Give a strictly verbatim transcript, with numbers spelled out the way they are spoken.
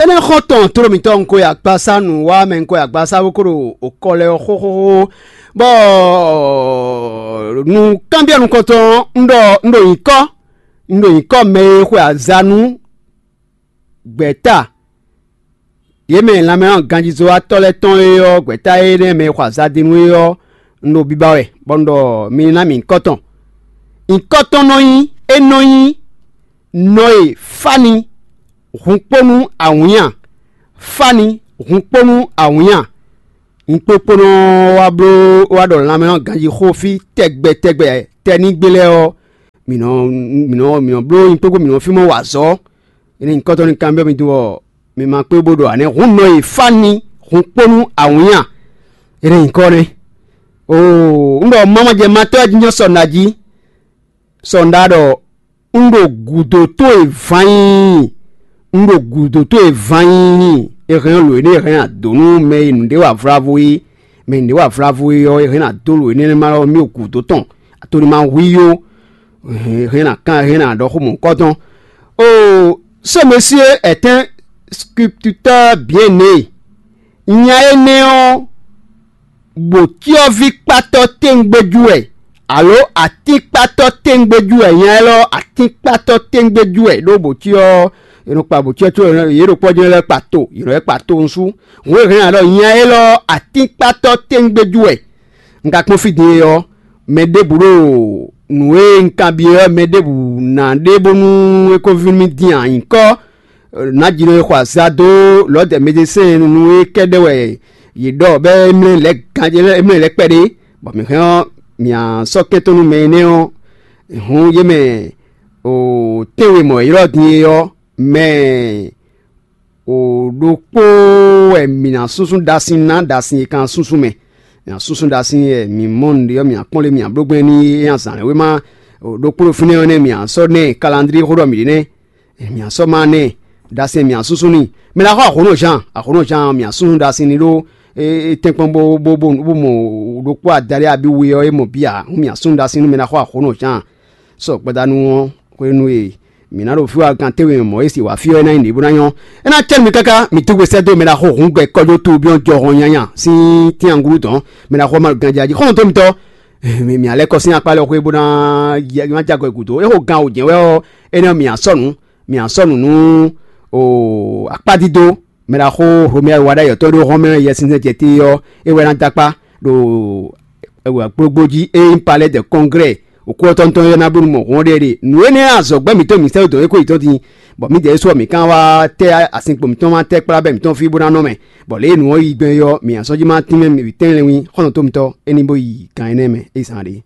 Énɛ́ xɔ́ntɔn tló mǐtɔn un ko yi agbasá nǔ wá mɛ, un ko yi agbasá bó ko ɖo okɔ lɛ ɔ́ xóxóxó, bɔ nǔkanbyɔ́ nukɔntɔn un ɖɔ un ɖo nyǐkɔ, un ɖo nyǐkɔ mɛ e xwe aza nú gbɛ̌ta, yě mɛ lanmɛ ganjízɔ́watɔ́ lɛ́ɛ tɔn é ɔ́, gbɛ̌ta énɛ́ mɛ e xɔ aza din nú é ɔ́, un ɖo biba wɛ, bɔ un ɖɔ mi ná mì nyǐkɔ tɔn. Nyǐkɔ tɔn nɔ nyí é nɔ nyí nɔ e fá ni hun kpó nú awǐnnya, fá ni hun kpó nú awǐnnya. Nyǐkpókpónɔ wá bló wá ɖɔ lanmɛ ɔ́ ganjí xó fí tɛgbɛ tɛgbɛ tɛnígbe lɛ́ɛ ɔ́, mǐ nɔ mǐ nɔ mǐ nɔ bló nyǐkpókpó mǐ nɔ fí mɔ wa azɔ̌. Énɛ́ nyǐkɔ tɔn ní kanbyɔ́ mi dó ɔ́, mi ma kpé bó ɖo ǎ nɛ́. Hǔn nɔ e fá ni hun kpó nú awǐnnya. Énɛ́ nyǐkɔ nɛ́. Oo, un ɖɔ mamajɛ matɔ́ wɛ jínjɔ́n sɔ nǎ jí. Sɔ nɖá ɖɔ un ɖo gǔdo towe ván nyí, un ɖo gǔdo towe ván nyí. È hɛn lǒ énɛ́ è hɛn adǒ nú mɛ e nǔɖé wa vlavo é, mɛ e nǔɖé wa vlavo é ɔ́, è hɛn adó lǒ énɛ́ ma ɔ́ mì ɖo gǔdo tɔn, ato ní ma hu i ó. Hɛn ná kan hɛn ná ɖɔ xó mɔ̌hunkɔtɔn. Oo, ce monsieur est un sculpteur bien né. Nya énɛ́ ɔ́, bǒcyɔ́ví kpátɔ́ tɛ́ngbéjú wɛ, alo atínkpátɔ́ tɛ́ngbéjú wɛ. Nya élɔ́ atínkpátɔ́ tɛ́ngbéjú wɛ, ɖó bǒcyɔ́, è nɔ kpa bǒcyɔ́ có yě ɖo kpɔ́ jɛ́n lɛ́ kpa to, yě nɔ lɛ́ kpa to nusú. Hǔn e hɛn ǎ ɖɔ nya élɔ́ atínkpátɔ́ tɛ́ngbéjú wɛ. Un ka kpɔ́n fí din é ɔ́, mɛ ɖěbǔ ɖo nǔ e un kanbyɔ́ ɔ́, mɛ ɖěbǔ ná ɖe bónú é ko víví nú mì din ǎ. Nyǐkɔ nǎjínɔ e xɔ azǎn dó Lɔ̌dɛ medesɛ́n nú é kɛ́ɖɛ́ wɛ yě ɖɔ bɔ é mlɛ́ lɛ̌ ganjé lɛ́ɛ, é mlɛ́ lɛ̌ kpɛɖé, bɔ mǐ hɛn ɔ́, mǐ sɔ́ kɛ́ntɔ́ nú mɛ énɛ́ ɔ́. Hǔn yě mɛ tɛ́nwe mɔ̌ e ylɔ́ din é ɔ́, mɛ ɖokpó wɛ mǐ ná súnsún ɖasin ná, ɖasin e kan súnsún mɛ. Mǐ ná súnsún ɖasin wɛ mǐ mɔ nǔɖé ɔ́, mǐ ná kpɔ́n lé mǐ ná bló gbɛn n'i é azǎn lɛ́ɛ wéma ɖokpó ɖo fínɛ́ ɔ́ nɛ́, mǐ ná sɔ́ nɛ́ kalandrí xó ɖɔ mǐ ɖe nɛ́. Mǐ ná sɔ́ má nɛ́ ɖasin mǐ ná súnsún n'i. Mɛ ná xɔ Ahlǒnɔ Jean, Ahlǒnɔ Jean mǐ ná súnsún ɖasin ní ɖó tɛ́nkpɔ́n bó bó bó bó mɔ ɖokpó adaɖé abí we ɔ́ é mɔ bǐ ǎ. Hǔn mǐ ná súnsún ɖasin nú mɛ ná xɔ Ahlǒnɔ Jean. Sɔ gbadanu ɔ́, hwenu e mǐ ná ɖo fí wá gan tɛ́nwe mɔ̌ e si wǎ fí ɔ́, é ná nyí nǔɖé bó ná nyɔ́. É ná cɛ́ nú mi káká, mi dó gbe sɛ́ dó mɛ ná xo hǔn gbɛ kɔjó tubyɔ́n jɔhɔn nyanya sín tɛ́nyanglú dɔn. Mɛ ná xɔ ma ganjá jí xɔ́ntɔn mitɔ́. Mǐ ná lɛ́ kɔ sín akpá lɛ́ɛ xwé bó ná má já gɔ gǔdo. É xo gan wǒ jɛ́n wɛ ɔ́, énɛ́ ɔ́, mǐ ná sɔ́ nǔ, mǐ ná sɔ́ nǔ nú akpádídó. Mɛ ɖaxó Romɛ́ɛ wa ɖ'ayǐ ɔ́ tɔn ɖó Hlɔ̌mɛ Yɛsinsɛn jɛ te ɔ́, é wɛ ná dó akpá ɖo kplɔ́gbó jí. Ényí palɛ́ de kɔnglɛ́ òkú ɔ́ tɔn tɔn ɔ́ ná bló nú mɔ hɔn ɖé ɖe. Nǔ énɛ́ azɔ̌gbɛ́ mǐtɔn mǐ sɛ́ dó é kó yětɔn din, bɔ mǐdɛɛ ɖésú ɔ́, mǐ kán wá tɛ́ asinkpo mǐtɔn ma tɛ́ kplá bɛ́ mǐtɔn fí bó ná nɔ mɛ, bɔ lě e nǔ ɔ́ yi gbɛn é ɔ́, mǐ ná sɔ́ jí má tínmɛ mǐ tɛ́nlɛ́nwí xɔ́ntɔn mitɔ́ é ní bó yi gan énɛ́ mɛ é zán ɖě.